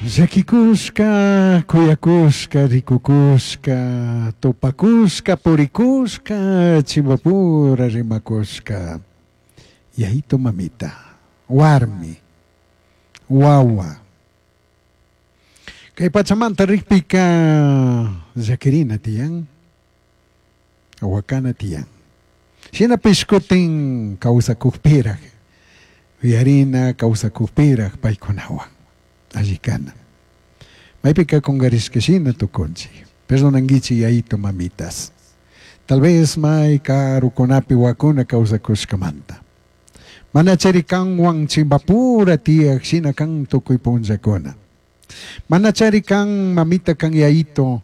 Llaquicushca, cuyacushca, ricucushca, tupacushca, puricushca, chimbapura rimacushca. Yaito mamita, warmi, wawa. Kay pachamanta rikpika llaquirina tiyan, wakana tiyan. Shinapish kutin kawsakukpiraj, yuyarina kawsakukpiraj paykunawan alli kana. Maypika kungarishka shina tukunchik. Perdonanguichik yayito mamitas. Tal vez may karukunapi wakuna kawsakushkamanta. Mana chari kanwan chimbapura tiyak shina kan tukuy punllakuna. Mana chari kan mamita kan yayito.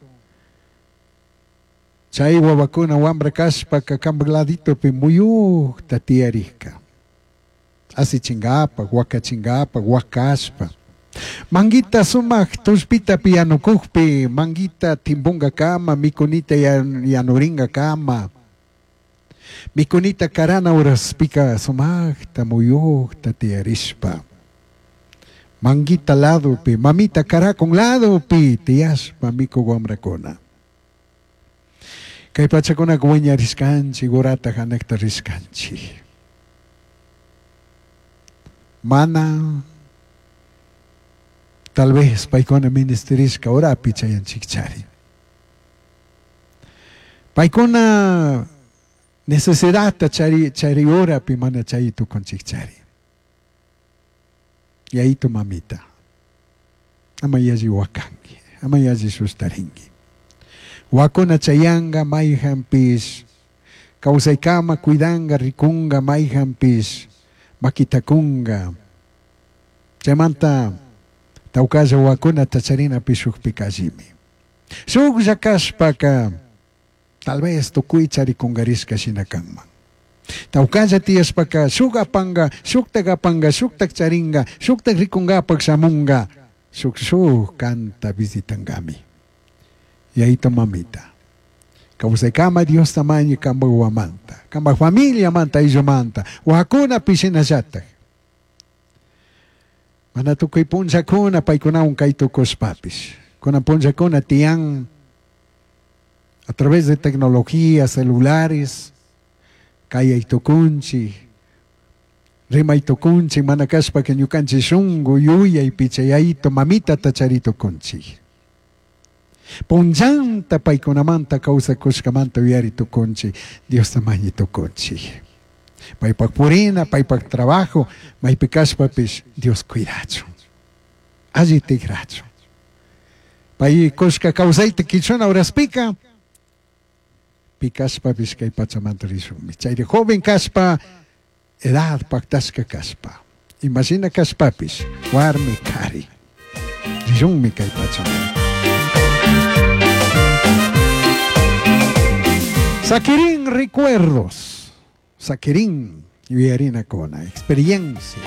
Chay wawakuna wambra kashpaka kanpak laditopi muyukta tiyarikka. Asichinkapak, wakachinkapak, wakashpa. Manguita sumak tullpita piyanukukpi, manguita timpunkakama, mikunita yanurinkakama. Mikunita karana uraspika sumakta muyukta tiyarishpa. Manguita ladopi, mamita karakun ladopi tiyashpa mikuk wambrakuna. Kay pachakunaka wiñarishkanchik, urata hanakta rishkanchik. Mana tal vez paykuna ministerishka urapi chayanchikchari. Paykuna necesidadta chari chari urapi mana chay tukunchikchari. Yayito mamita, ama yalli wakanki, ama yalli sustarinki. Wakuna chayanga mayhanpish, kawsaykama cuidanga, rikunga mayhanpish, makitakunga. Chaymanta tawkalla wakunata charinapi shukpika allimi. Shuklla kashpaka tal vez tukuy charikungarishka shina kanman. Tawkalla tiyashpaka shuk apanga, shuktak apanga, shuktak charinga, shuktak rikungapak shamunga, shuk shuk kanta visitangami. Yayito mamita. Kawsaykama Diosta mañi kanpak wawamanta, kanpak familiamanta, ayllumanta, wakunapi shinallatak. Mana tukuy punllakuna paykunawan kay tukushpapish. Kunan punllakuna tiyan a través de tecnología, celulares, kayay tukunchik, rimay tukunchik, mana kashpaka ñukanchik shunku yuyaypi chay yayito mamitata chari tukunchik. Punllanta paykunamanta kawsakushkamanta uyari tukunchik, Diosta mañi tukunchik. Paypak purina, paypak trabajo, maypi kashpapish Dios cuidachun. Alli tikrachun. Pay kushka kawsayta kichuna uraspika, pi kashpapish kay pachamanta rishunmi. Chayri joven kashpa, edad paktashka kashpa. Imashina kashpapish, warmi kari. Rishunmi kay pachamanta. Saquirín recuerdos. Saquirín yuyarinakuna, experiencia.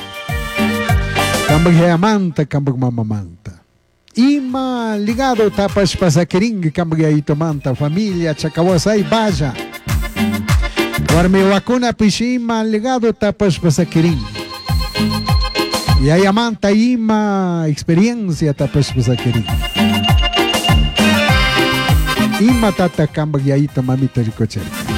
Kanpak yayamanta, kanpak mamamanta. Ima ligado tapashpa saquirín kanpak yayitumanta, familia, chacawasay, vaya. Warmi wakunapish ima ligado tapashpa saquirín. Yayamanta ima experiencia tapashpa saquirín. Ima tata kanpak yayito mamita rikuchirka.